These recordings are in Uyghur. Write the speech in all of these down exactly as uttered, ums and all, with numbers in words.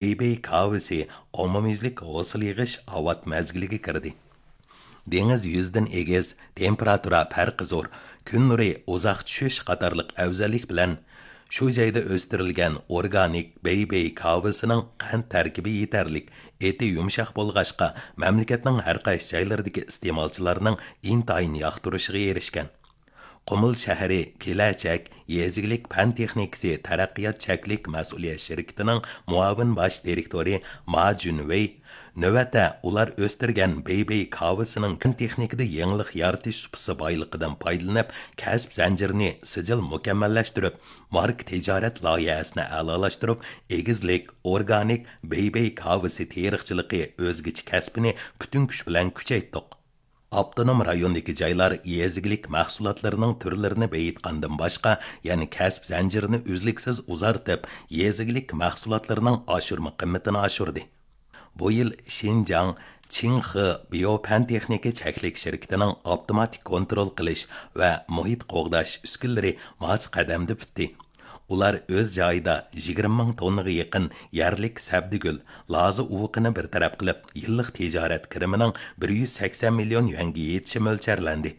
بېيبېي كاۋىسى ئومۇميۈزلۈك ھوسۇل يىغىش ئاۋات مەزگىلىگە كىردى. دېڭىز يۈزىدىن ئېگىز، تېمپېراتۇرا پەرقى زور، كۈن نۇرى ئۇزاق چۈشۈش قاتارلىق ئەۋزەللىك بىلەن، شۇ جايدا ئۆستۈرۈلگەن ئورگانىك بېيبېي كاۋىسىنىڭ قەنت تەركىبى يېتەرلىك، ئېتى يۇمشاق بولغاچقا، مەملىكەتنىڭ ھەر قايسى جايلىرىدىكى ئىستېمالچىلارنىڭ ئىنتايىن ياقتۇرۇشىغا ئېرىشكەن. قۇمۇل شەھىرى كېلەچەك يېزا ئىگىلىك پەن تېخنىكىسى تەرەققىيات چەكلىك مەسئۇلىيەت شىركىتىنىڭ مۇئاۋىن باش دىرېكتورى ما جۈنۋېي نۆۋەتتە ئۇلار ئۆستۈرگەن بېيبېي كاۋىسىنىڭ پەن تېخنىكىدا يېڭىلىق يارىتىش سۇپىسى بايلىقىدىن پايدىلىنىپ، كەسىپ زەنجىرىنى سىجىل مۇكەممەللەشتۈرۈپ، ماركا تىجارەت لايىھەسىنى ئەلالاشتۇرۇپ، ئېگىزلىك ئورگانىك بېيبېي كاۋىسى تېرىقچىلىقى ئۆزگىچە كەسپىنى پۈتۈن كۈچ بىلەن كۈچەيتتۇق. ئاپتونوم رايوندىكى جايلار يېزا ئىگىلىك مەھسۇلاتلىرىنىڭ تۈرلىرىنى بېيىتقاندىن باشقا، يەنە كەسىپ زەنجىرىنى ئۈزلۈكسىز ئۇزارتىپ، يېزا ئىگىلىك مەھسۇلاتلىرىنىڭ ئاشۇرما قىممىتىنى ئاشۇردى. بۇ يىل شىنجاڭ چىڭخې بىيو پەن تېخنىكا چەكلىك شىركىتىنىڭ ئاپتوماتىك كونترول قىلىش ۋە مۇھىت قوغداش ئۈسكۈنىلىرى ماس قەدەمدە پۈتتى. ئۇلار ئۆز جايىدا يىگىرمە مىڭ توننىغا يېقىن يەرلىك سەبدىگۈل، لازا ئۇۋىقىنى بىر تەرەپ قىلىپ، يىللىق تىجارەت كىرىمىنىڭ بىر يۈز سەكسەن مىليون يۈەنگە يېتىشى مۆلچەرلەندى.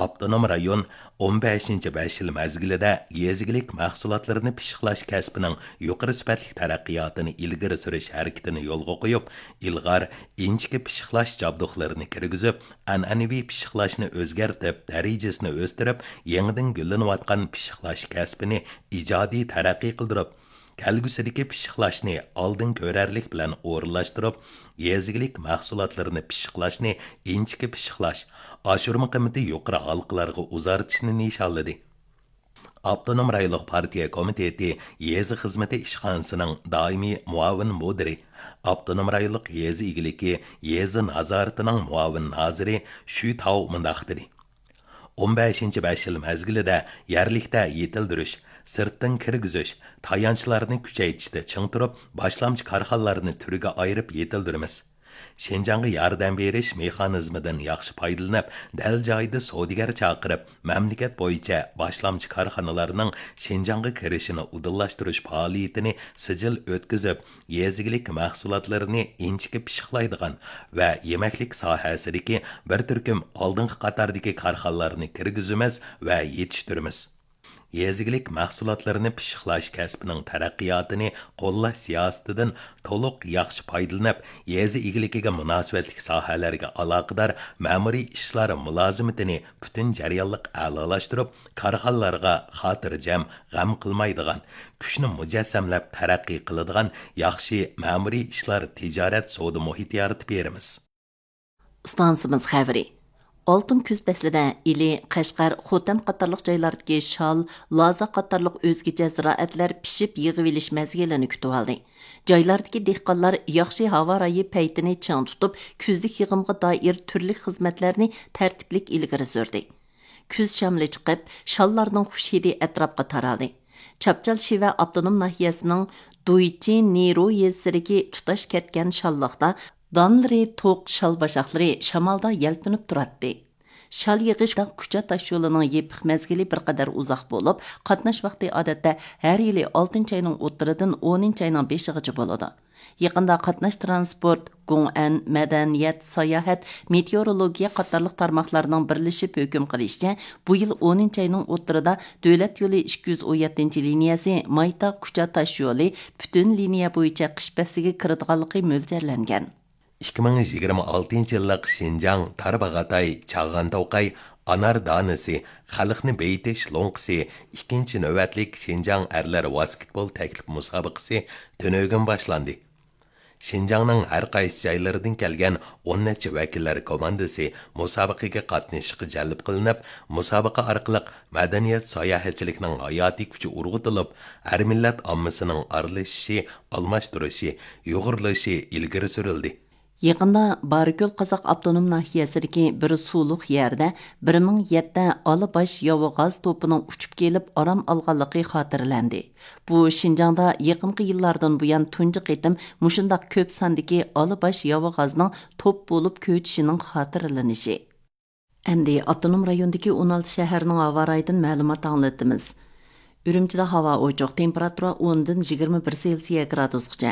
ئاپتونوم رايون ئون بەشىنچى بەش يىل مەزگىلىدە يېزا ئىگىلىك مەھسۇلاتلىرىنى پىششىقلاش كەسپىنىڭ يۇقىرى سۈپەتلىك تەرەققىياتىنى ئىلگىرى سۈرۈش ھەرىكىتىنى يولغا قويۇپ، ئىلغار ئىنچىكە پىششىقلاش جابدۇقلىرىنى كىرگۈزۈپ، ئەنئەنىۋى پىششىقلاشنى ئۆزگەرتىپ، دەرىجىسىنى ئۆستۈرۈپ، يېڭىدىن گۈللىنىۋاتقان پىششىقلاش كەسپىنى ئىجادىي تەرەققىي قىلدۇرۇپ، كەلگۈسىدىكى پىششىقلاشنى ئالدىن كۆرەرلىك بىلەن ئورۇنلاشتۇرۇپ، يېزا ئىگىلىك مەھسۇلاتلىرىنى پىششىقلاشنى ئىنچىكە پىششىقلاش، ئاشۇرما قىممىتى يۇقىرى ھالقىلارغا ئۇزارتىشنى نىشانلىدى. ئاپتونوم رايونلۇق پارتىيە كومىتېتى يېزا خىزمىتى ئىشخانىسىنىڭ دائىمىي مۇئاۋىن مۇدىرى، ئاپتونوم رايونلۇق يېزا ئىگىلىكى يېزا نازارىتىنىڭ مۇئاۋىن نازىرى شۈ تاۋ مۇنداق دېدى: ئون بەشىنچى بەش يىل مەزگىلىدە يەرلىكتە يېتىلدۈرۈش، سىرتتىن كىرگۈزۈش، تايانچلارنى كۈچەيتىشتە چىڭ تۇرۇپ، باشلامچى كارخانىلارنى تۈرگە ئايرىپ يېتىلدۈرىمىز. شىنجاڭغا ياردەم بېرىش مېخانىزمىدىن ياخشى پايدىلىنىپ، دەل جايىدا سودىگەر چاقىرىپ، مەملىكەت بويىچە باشلامچى كارخانىلارنىڭ شىنجاڭغا كىرىشىنى ئۇدۇللاشتۇرۇش پائالىيىتىنى سىجىل ئۆتكۈزۈپ، يېزا ئىگىلىك مەھسۇلاتلىرىنى ئىنچىكە پىششىقلايدىغان ۋە يېمەكلىك ساھەسىدىكى بىر تۈركۈم ئالدىنقى قاتاردىكى كارخانىلارنى كىرگۈزىمىز ۋە يېتىشتۈرىمىز. يېزا ئىگىلىك مەھسۇلاتلىرىنى پىششىقلاش كەسپىنىڭ تەرەققىياتىنى قوللاش سىياسىتىدىن تولۇق ياخشى پايدىلىنىپ، يېزا ئىگىلىكىگە مۇناسىۋەتلىك ساھەلەرگە ئالاقىدار مەمۇرىي ئىشلار مۇلازىمىتىنى پۈتۈن جەريانلىق ئەلالاشتۇرۇپ، كارخانىلارغا خاتىرجەم، غەم قىلمايدىغان، كۈچنى مۇجەسسەملەپ تەرەققىي قىلىدىغان ياخشى مەمۇرىي ئىشلار، تىجارەت، سودا مۇھىتى يارىتىپ بېرىمىز. ئىستانسىمىز خەۋىرى. ئالتۇن كۈز پەسلىدە ئىلى، قەشقەر، خوتەن قاتارلىق جايلاردىكى شال، لازا قاتارلىق ئۆزگىچە زىرائەتلەر پىشىپ يىغىۋېلىش مەزگىلىنى كۈتۈۋالدى. جايلاردىكى دېھقانلار ياخشى ھاۋا رايى پەيتىنى چىڭ تۇتۇپ، كۈزلۈك يىغىمغا دائىر تۈرلۈك خىزمەتلەرنى تەرتىپلىك ئىلگىرى سۈردى. كۈز شامىلى چىقىپ، شاللارنىڭ خۇش ھىدى ئەتراپقا تارالدى. چاپچال شىۋە ئاپتونوم ناھىيەسىنىڭ دۇيچى نىرو يېزىسىدىكى تۇتاش كەتكەن شاللىقتا دانلىرى توق شال باشاقلىرى شامالدا يەلپۈنۈپ تۇراتتى. شال يىغىش كۇچا تاشيولىنىڭ يېپىق مەزگىلى بىر قەدەر ئۇزاق بولۇپ، قاتناش ۋاقتى ئادەتتە ھەر يىلى ئالتىنچى ئاينىڭ ئوتتۇرىدىن ئونىنچى ئاينىڭ بېشىغىچە بولىدۇ. يېقىندا قاتناش ترانسپورت، گۇڭئەن، مەدەنىيەت، ساياھەت، مېتېئورولوگىيە قاتارلىق تارماقلارنىڭ بىرلىشىپ ھۆكۈم قىلىشىچە، بۇ يىل ئونىنچى ئاينىڭ ئوتتۇرىدا دۆلەت يولى ئىككى يۈز ئون يەتتىنچى لىنىيەسى مايتاغ كۇچا تاشيولى پۈتۈن لىنىيە بويىچە قىش پەسلىگە كىرىدىغانلىقى مۆلچەرلەنگەن. ئىككى مىڭ يىگىرمە ئالتىنچى يىللىق شىنجاڭ تارباغاتاي چاغان توقاي ئانار دانىسى خەلقنى بېيىتىش لوڭقىسى ئىككىنچى نۆۋەتلىك شىنجاڭ ئەرلەر ۋاسكېتبول تەكلىپ مۇسابىقىسى تۈنۈگۈن باشلاندى. شىنجاڭنىڭ ھەر قايسى جايلىرىدىن كەلگەن ئون نەچچە ۋەكىللەر كوماندىسى مۇسابىقىگە قاتنىشىشقا جەلپ قىلىنىپ، مۇسابىقە ئارقىلىق مەدەنىيەت ساياھەتچىلىكنىڭ ھاياتىي كۈچى ئۇرغۇتۇلۇپ، ھەر مىللەت ئاممىسىنىڭ ئارىلىشىشى، ئالماشتۇرۇشى، يۇغۇرۇلۇشى ئىلگىرى سۈرۈلدى. يېقىندا بارىكۆل قازاق ئاپتونوم ناھىيەسىدىكى بىر سۇلۇق يەردە بىر مىڭ يەتتە ئالا باش ياۋا غاز توپىنىڭ ئۇچۇپ كېلىپ ئارام ئالغانلىقى خاتىرىلەندى. بۇ شىنجاڭدا يېقىنقى يىللاردىن بۇيان تۇنجى قېتىم مۇشۇنداق كۆپ ساندىكى ئالا باش ياۋا غازنىڭ توپ بولۇپ كۆچۈشىنىڭ خاتىرىلىنىشى. ئەمدى ئاپتونوم رايوندىكى ئون ئالتە شەھەرنىڭ ھاۋا رايىدىن مەلۇمات ئاڭلىتىمىز. ئۈرۈمچىدە ھاۋا ئوچۇق، تېمپېراتۇرا ئوندىن يىگىرمە بىر سېلسىيە گرادۇسقىچە.